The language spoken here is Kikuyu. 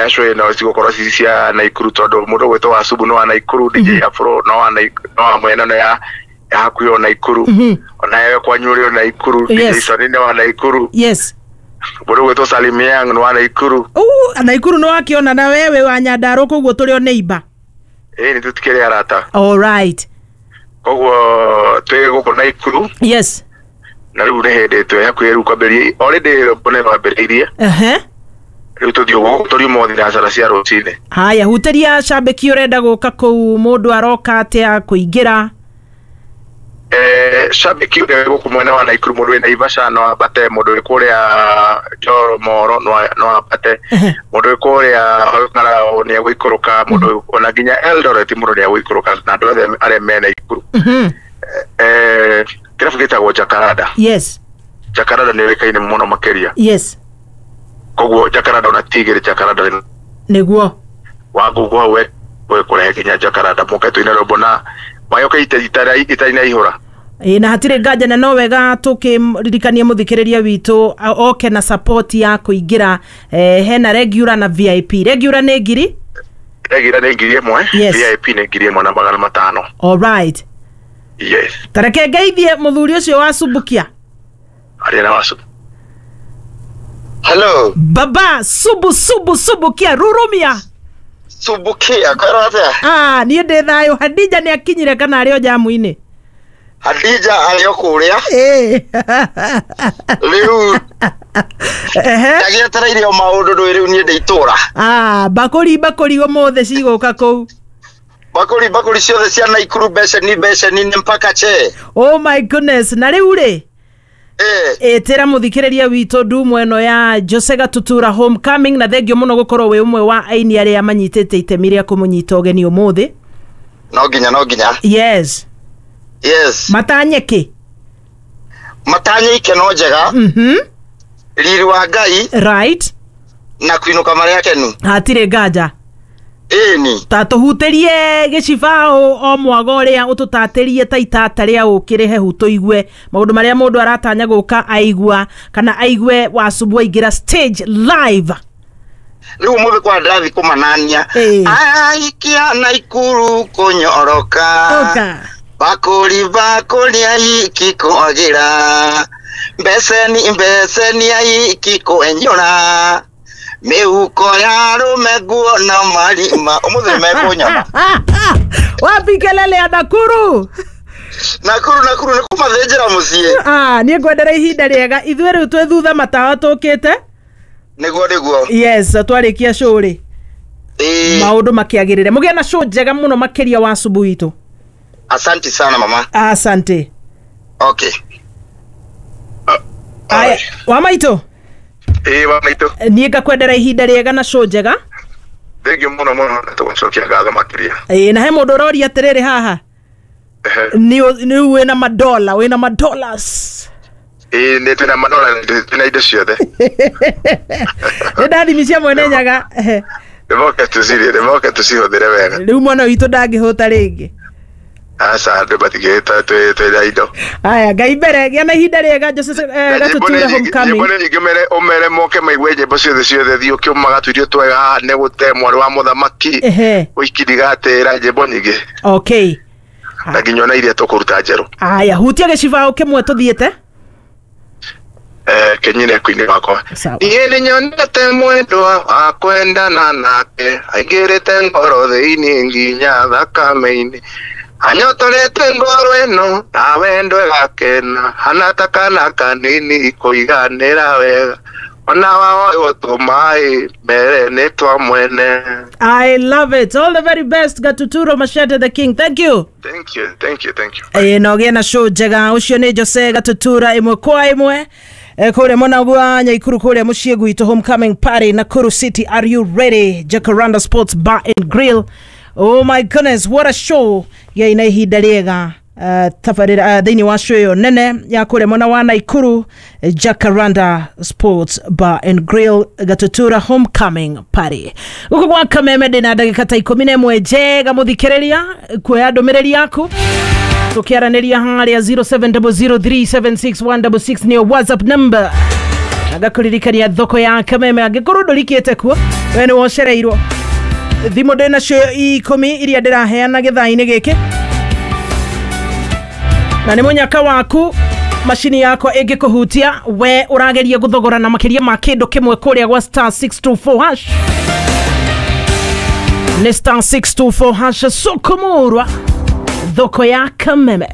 Ngwĩhoya show ĩno cigũkorwo ci cia Naikuru tondũ mũndũ ũgwĩtwo wa Subu nĩ wa Naikuru, DJ Afro no wa no wa mwena ĩno ya hakuhĩ o Naikuru, onawe kwanyu ũrĩ o Naikuru, DJ Sony nĩ wa Naikuru, mũndũ ũgwĩtwo Salim Young nĩ wa Naikuru. Naikuru nĩ wakĩona na wewe wa Nyandarua koguo tũrĩ o neighbor. Ĩĩ, nĩ tũtikĩrĩ arata. All right. Koguo twĩ gũkũ Naikuru. Na rĩu nĩ hĩndĩ twĩ hakuhĩ rĩu kwambĩrĩria, already rwĩmbo nĩ rwambĩrĩirie. Rĩu tũthiĩ gũkũ tũriuma thinacara cia rũcinĩ. Haya, hutĩria cambĩki ũrenda gũka kũu, mũndũ aroka atĩa kũingĩra? Shabiki ũrĩa wĩ gũkũ mwena wa Naikuru, mũndũ wĩ Naivasha no ambate, mũndũ wĩ kũrĩa Njoro no ambate, mũndũ wĩ kũrĩa Olkalau nĩ egũikũrũka, mũndũ ona nginya Eldoret mũndũ nĩ egũikũrũka, na andũ othe arĩa me Naikuru. Kĩrabu gĩtagwo Jacaranda. Jacaranda nĩ yũĩkaine mũno makĩria. Koguo Jacaranda ona ti igĩrĩ, Jacaranda nĩ wa Google hau we kũrehe nginya Jacaranda, mũke tũine rwĩmbo na mayoke itanaihũra. Ĩ, na hatirĩ nganja, na no wega tũkĩririkania mũthikĩrĩria witũ oke na support ya kũingĩra. Hena regular na VIP. Regular nĩ ngiri? Regular nĩ 1000, VIP nĩ 1500. All right. Yes. Tareke ngeithie mũthuri ũcio wa Subukia. Arĩa na wa Subu. Hello. Baba Subu, Subu, Subukia, rurumia. Subukia, kwĩrwo atĩa? Ah, niĩ ndĩ thayũ. Hadija nĩ akinyire kana arĩ o jamu-inĩ? Hadija arĩ o kũrĩa. Rĩu ndagĩetereire o maũndũ ndũĩ, rĩu niĩ ndĩ itũra. Ah, bakũri bakũri ũmũthĩ cigũka kũu. Bakũri bakũri ciothe cia Naikuru, beceni beceni nĩ mpaka che. Oh my goodness, na rĩu rĩ, ĩtĩra mũthikĩrĩria witũ ndumo ĩno ya Jose Gatutura homecoming, na thengio mũno gũkorwo wĩ ũmwe wa aini arĩa manyitĩte itemi rĩa kũmũnyita ũgeni ũmũthĩ. No nginya, no nginya. Yes. Yes. Matanye kĩ? Matanye ikeno njega. Riri wa Ngai. Na kũinũka marĩa akenu. Hatirĩ nganja. Ĩni. Ta tũhutĩrie gĩcibaũ o mwago ũrĩa ũtũtatĩrie ta itata rĩa ũkĩrĩ hehu, tũigue maũndũ marĩa mũndũ aratanya gũka aigua kana aigue Wasubu aingĩra stage live. Rĩu ũmũthĩ kwa ndĩrathiĩ kũmanania. Aikia Naikuru kũnyoroka. Oka. Bakũri bakũri aiki kwagĩra. Mbeceni mbeceni aiki kwenyũra. Mĩhuko ya arũme nguo na marima. Ũmũthĩ mekũnyona. Wapi kelele ya Nakuru? Nakuru, Nakuru nĩ kũmathĩnjĩra mũciĩ. Ah, niĩ ngwendera ihinda rĩega. Ithuĩ rĩu twĩ thutha matawa tũkĩte. Nĩguo, nĩguo. Yes, twarĩkia show rĩ. Maũndũ makĩagĩrĩre. Mũgĩe na show njega mũno makĩria wa Subu witũ. Asante sana mama. Asante. Okay. Aya, wa maitũ. Ĩĩ, wa maitũ. Niĩ ngakwendera ihinda rĩega na show njega. Thengiũ mũno mũno, na tũgũcokia ngatho makĩria. Ĩĩ, na he mũndũ ũroria atĩrĩrĩ haha. Nĩ wĩna madola, wĩna madollars. Ĩĩ, nĩ twĩna madola, twĩna indo ciothe. Nĩ ndathimi cia Mwene Nyaga. Nĩmoke tũcirĩe, nĩmoke tũcihũthĩre wega. Rĩu mwana witũ ndangĩhũta rĩngĩ. Aca, andũ matingĩhĩta, twĩna indo. Aya, Ngai mbere, gĩa na ihinda rĩega Jose Gatutura homecoming. Nyĩmbo nĩ nyingĩ, ũmere moke maigue nyĩmbo ciothe ciothe, thiĩ ũkĩũmaga tũirio twega haha nĩ gũte mwarĩ wa mũthamaki. Ũiki ndigatĩra, nyĩmbo nyingĩ. Okay. Na nginya ona iria tũkũruta njerũ. Aya, hutia gĩcibaũ kĩmwe tũthiĩte. Kenyine kuini wakwa. Niĩ nĩnyonete mwendwa wa kwendana nake, aingĩrĩte ngoro thĩinĩ nginya thakame-inĩ. Anyotorete ngoro ĩno na wendo ĩgakena, hana ta kana kanini kũiganĩra wega. Ona waoywo tũmaĩ mbere nĩ twa mwene. I love it. All the very best, Gatuturo Machete the King. Thank you. Thank you, thank you, thank you. Na ũgĩe na show njega. Ũcio nĩ Jose Gatutura ĩmwe kwa ĩmwe. Kũrĩa mwena wa Nyaikuru, kũrĩa mũciĩ gwitũ, homecoming party Nakuru City. Are you ready? Jacaranda Sports Bar and Grill. Oh my goodness, what a show. Gĩa na ihinda rĩega. Tabarĩra thĩinĩ wa show ĩyo nene ya kũrĩa mwena wa Naikuru, Jacaranda Sports Bar and Grill, Gatutura homecoming party. Gũkũ gwa Kameme ndĩna ndagĩka ta 11 njega mũthikĩrĩria kuoya ndũmĩrĩri yaku tũkĩaranĩria harĩa 0700376166 nĩyo WhatsApp number. Na ngakũririkania thoko ya Kameme angĩkorwo ndũrikĩte kuo we nĩ wocereirwo. Thimũ ndĩ nacio 10 iria ndĩraheana gĩthaa-inĩ gĩkĩ, na nĩ mũnyaka waku macini yakwa ĩngĩkũhutia we ũrageria gũthogora na makĩria ma kĩndũ kĩmwe kũrĩa gwa star 624 hash. Nĩ star 624 hash, sokomorwa thoko ya Kameme.